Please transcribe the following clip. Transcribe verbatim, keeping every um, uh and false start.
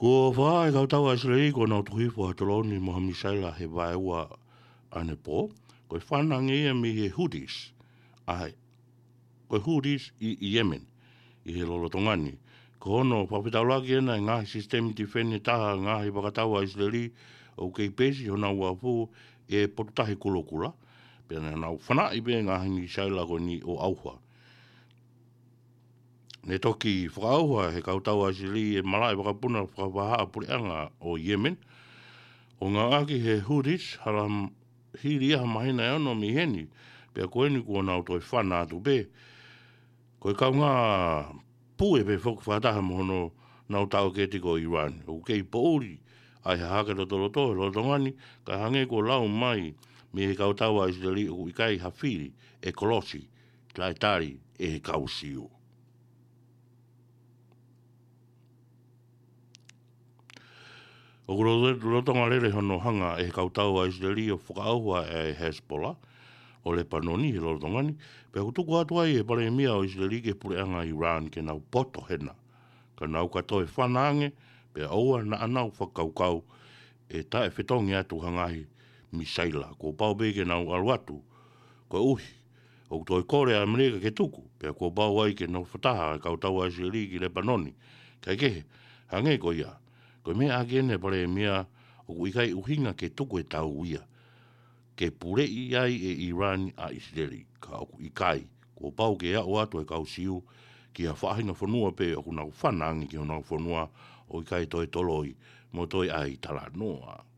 Kuo fakahā ʻe he kautau ʻa ʻIsileli kuo nau tuku hifo ha toloni mo ha misaila he vaeua ʻanepō. Ko e fana ange ia mei he Houthis, ʻa e, ko e Houthis ʻi, ʻi Yemen, ʻi he lolotonga ni. Ko hono fakafetaulaki ʻena e ngaahi sisitemi tifeni taha ngaahi fakatau ʻa ʻIsileli ʻoku kei peisi honau uafu ʻe potutahi kulokula. Pea naʻa nau fanaʻi pē ngaahi misaila ko eni ʻo ʻauha. Ne toki fakaʻauha ʻe he kautau ʻa ʻIsileli e malaʻe vakapuna fakavahaʻapuleʻanga ʻo Yemen, ʻo ngāueʻaki ʻe he Houthis hala m-, hili ia ha māhina ʻe ono mei heni, pea ko eni kuo nau toe fana atu pē. Ko e kaungā pue pē foki fakataha mo hono nau taʻokete ko Iran. ʻOku kei poʻuli ʻa e hahake lotoloto he lolotonga ni, kae hangē kuo lau mai mei he kautau ʻa ʻIsileli ʻoku ʻikai ha fili ʻe kolosi taʻetali ʻe he kau Siu. ʻOku lolotonga lele hono hanga ʻe he kautau ʻa ʻIsileli ʻo fakaʻauha e Hezbollah ʻo Lepanoni he lolotonga ni, pea ʻoku tuku atu ai ʻe he palēmia ʻo ʻIsileli ki he puleʻanga Iran ke nau poto hena. Ka nau ka toe fana ange, pea ʻoua naʻa nau fakakaukau ʻe taʻefetongi atu ha ngaahi misaila. Kuo pau pē ke nau ʻalu atu, koeʻuhi ʻoku toe kole ʻa ʻAmelika ke tuku, pea kuo pau ai ke nofo taha e kautau ʻa ʻIsileli ki Lepanoni. Kaekehe, hangē ko ia, ko e meʻa ʻaki ʻeni ʻa e palēmia, ʻoku ʻikai ʻuhinga ke tuku e tau ia ke puleʻi ai ʻe Iran ʻa ʻIsileli, ka ʻoku ʻikai, kuo pau ke aʻu atu e kau Siu ki ha faʻahinga fonua pē ʻoku nau fana ange ki honau fonua, ʻo ʻikai toe toloi mo toe ʻai talanoa.